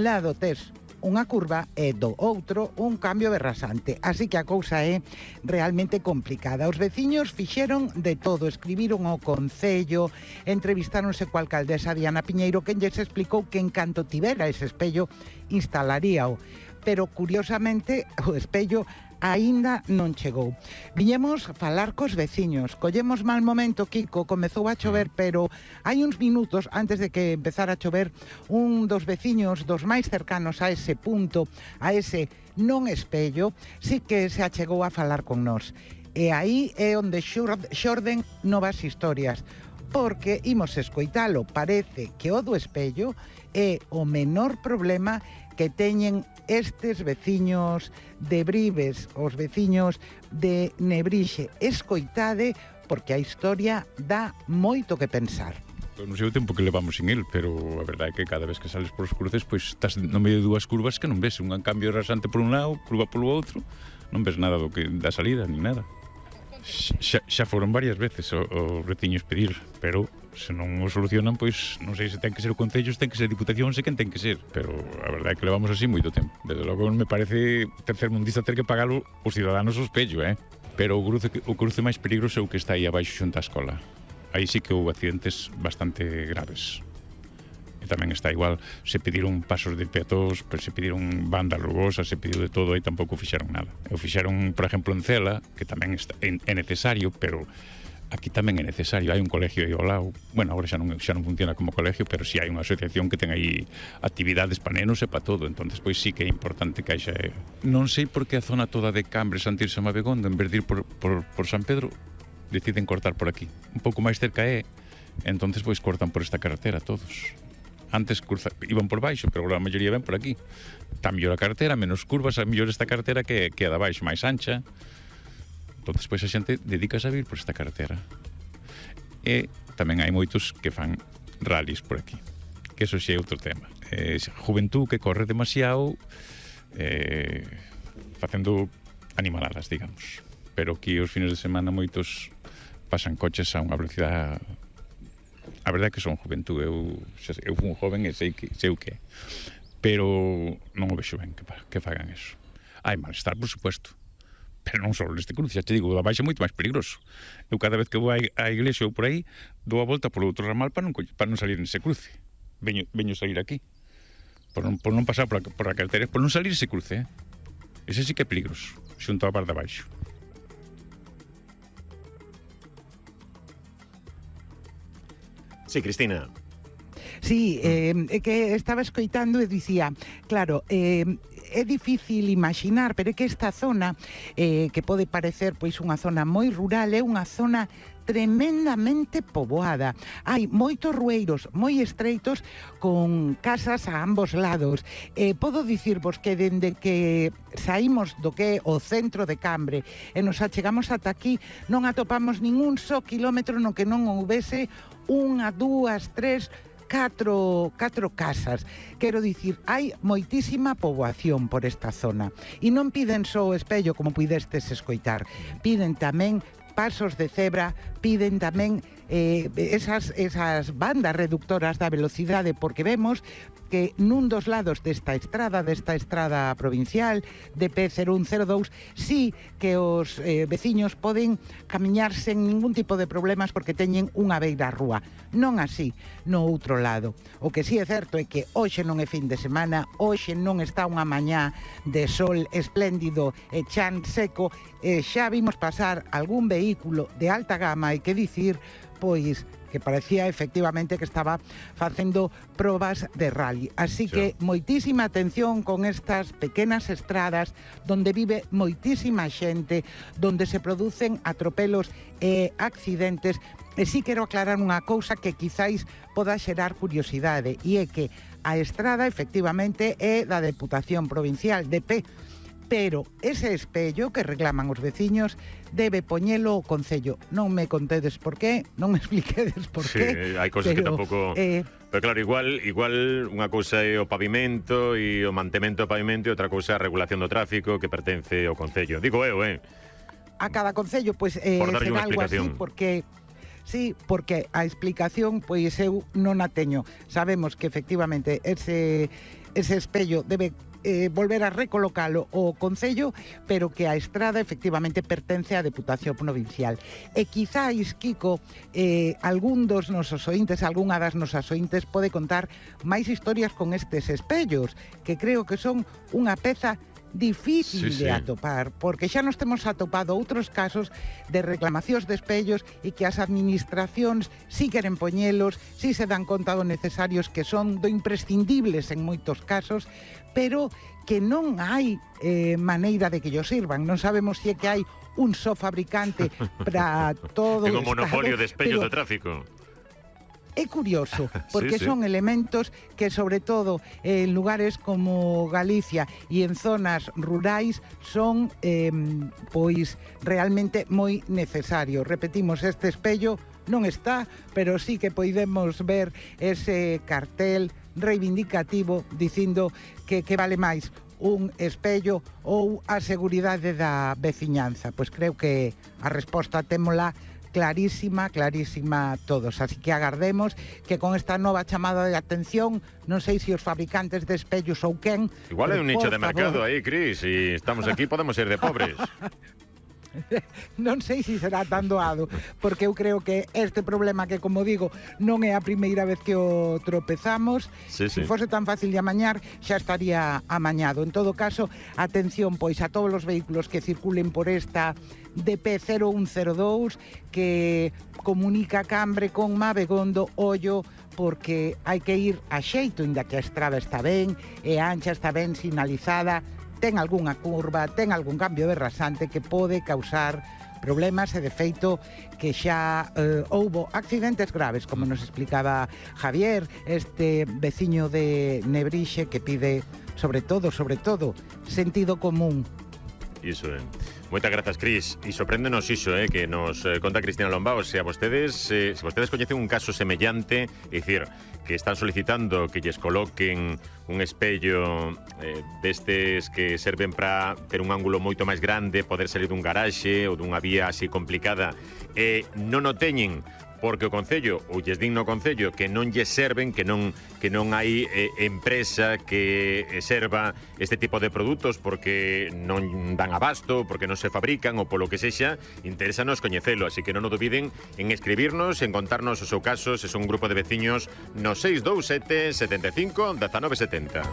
lado tes unha curva e do outro un cambio de rasante. Así que a cousa é realmente complicada. Os veciños fixeron de todo, escribiron ao concello, entrevistáronse coa alcaldesa Diana Piñeiro, quen lles explicou que en canto tivera ese espello instalaríao. Pero curiosamente o espello aínda non chegou. Viñemos falar cos veciños. Collemos mal momento, Kiko, comezou a chover, pero hai uns minutos antes de que empezara a chover, un dos veciños, dos máis cercanos a ese punto, a ese non espello, sí que se achegou a falar con nós. E aí é onde xorden novas historias, porque imos escoitalo. Parece que o do espello é o menor problema que teñen estes veciños de Brives, os veciños de Nebrixe. Escoitade, porque a historia dá moito que pensar. Non sei o tempo que levamos sin el, pero a verdade é que cada vez que sales por os cruces, pois estás no medio de dúas curvas que non ves un cambio rasante por un lado, curva polo outro, non ves nada da salida, ni nada. Xa foron varias veces os veciños pedir, pero se non o solucionan, pois non sei se ten que ser o Concello, se ten que ser a Diputación, se quen ten que ser, pero a verdade é que levamos así moito tempo. Desde logo me parece tercermundista ter que pagalo os ciudadanos o espello, pero o cruce máis peligroso é o que está aí abaixo xunto á escola. Aí sí que houve accidentes bastante graves. E tamén está igual, se pediron pasos de peatóns, se pediron bandas rugosas, se pediu de todo, aí tampouco fixeron nada. O fixeron, por exemplo, en Cela, que tamén é necesario, pero aquí tamén é necesario. Hai un colegio aí ao lado, bueno, agora xa non funciona como colegio, pero si hai unha asociación que ten aí actividades para nenos e para todo, entonces pois sí que é importante que haxa. Non sei por que a zona toda de Cambre, Santirse e Mabegondo, en vez de ir por San Pedro, deciden cortar por aquí. Un pouco máis cerca entonces pois cortan por esta carretera todos. Antes iban por baixo, pero a maioría ven por aquí. Está mellor a carretera, menos curvas, a mellor esta carretera que a da baixo, máis ancha. Entón, pois a xente dedicase a vir por esta carretera. E tamén hai moitos que fan rallies por aquí, que eso xa é outro tema. Juventud que corre demasiado, facendo animaladas, digamos. Pero aquí os fines de semana moitos pasan coches a unha velocidade. A verdade é que son juventud, eu fui un joven e sei o que é, pero non o vexo ben que fagan eso. Hai malestar, por supuesto, pero non só neste cruce, xa te digo, o da baixa é moito máis peligroso. Eu cada vez que vou á iglesia ou por aí, dou a volta polo outro ramal para non salir nese cruce. Veño salir aquí, por non pasar por a carretera, por non salir ese cruce, ese sí que é peligroso, xunto á bar de baixo. Sí, Cristina. Sí, é que estaba escoitando e dicía, claro, é difícil imaginar, pero é que esta zona, que pode parecer pois unha zona moi rural, é unha zona tremendamente poboada. Hai moitos rueiros moi estreitos con casas a ambos lados. Podo dicirvos que dende que saímos do que é o centro de Cambre e nos achegamos ata aquí, non atopamos ningún só kilómetro no que non houvese unha, dúas, tres, catro casas. Quero dicir, hai moitísima poboación por esta zona. E non piden só o espello, como pudestes escoitar. Piden tamén pasos de cebra, piden tamén esas bandas reductoras da velocidade, porque vemos que nun dos lados desta estrada provincial de P0102, sí que os veciños poden camiñar sen ningún tipo de problemas porque teñen unha beira rúa. Non así no outro lado. O que sí é certo é que hoxe non é fin de semana, hoxe non está unha mañá de sol espléndido e chan seco, xa vimos pasar algún vehículo de alta gama, hai que dicir, pois que parecía efectivamente que estaba facendo probas de rally. Así que moitísima atención con estas pequenas estradas donde vive moitísima xente, donde se producen atropelos e accidentes. E sí quero aclarar unha cousa que quizáis poda xerar curiosidade, e é que a estrada efectivamente é da Deputación Provincial de P, pero ese espello que reclaman os veciños debe poñelo o Concello. Non me contedes por qué, non me expliquedes por qué. Sí, hai cousas que tampouco... Pero claro, igual unha cousa é o pavimento e o mantemento do pavimento e outra cousa é a regulación do tráfico que pertence ao Concello. Digo eu, A cada Concello, pois, será algo así, porque... Sí, porque a explicación, pois eu non a teño. Sabemos que efectivamente ese ese espello debe volver a recolocalo o Concello, pero que a estrada efectivamente pertence á Deputación Provincial. E quizáis, Kiko, algún dos nosos ointes, algunha das nosas ointes pode contar máis historias con estes espellos, que creo que son unha peza difícil de atopar, porque xa nos temos atopado outros casos de reclamacións de espellos e que as administracións si queren poñelos, si se dan conta do necesarios que son, do imprescindibles en moitos casos, pero que non hai maneira de que llo sirvan. Non sabemos se é que hai un só fabricante para todo o Estado. Estado. Ten un monopolio de espellos de tráfico. É curioso, porque Sí. son elementos que, sobre todo, en lugares como Galicia e en zonas rurais, son, pois, realmente moi necesarios. Repetimos, este espello non está, pero sí que podemos ver ese cartel reivindicativo dicindo que vale máis un espello ou a seguridade da veciñanza. Pois creo que a resposta témola clarísima todos, así que agardemos que con esta nova chamada de atención, non sei se os fabricantes de espellos ou quen, Igual hai un nicho de mercado favor, aí, Cris, e estamos aquí, podemos ir de pobres. non sei se será tan doado, porque eu creo que este problema que, como digo, non é a primeira vez que o tropezamos. Sí. Se fose tan fácil de amañar, xa estaría amañado. En todo caso, atención, pois, a todos os vehículos que circulen por esta DP0102 que comunica Cambre con Mabegondo, ollo, porque hai que ir a xeito, inda que a estrada está ben, e a ancha está ben sinalizada, ten algunha curva, ten algún cambio de rasante que pode causar problemas e de feito que xa houbo accidentes graves, como nos explicaba Javier, este veciño de Nebrixe que pide sobre todo, sentido común. Iso é. Moitas grazas, Cris. E sorpréndenos iso, que nos conta Cristina Lombao. Se vostedes coñecen un caso semellante, é dicir, que están solicitando que lles coloquen un espello destes que serven para ter un ángulo moito máis grande, poder salir dun garaxe ou dunha vía así complicada, e non o teñen porque o Concello, ou lles din no Concello, que non lles serven, que non hai empresa que serva este tipo de produtos porque non dan abasto, porque non se fabrican ou polo que sexa, interésanos coñecelo, así que non o dubiden en escribirnos, en contarnos o seu caso, se son un grupo de veciños no 627 75 1970.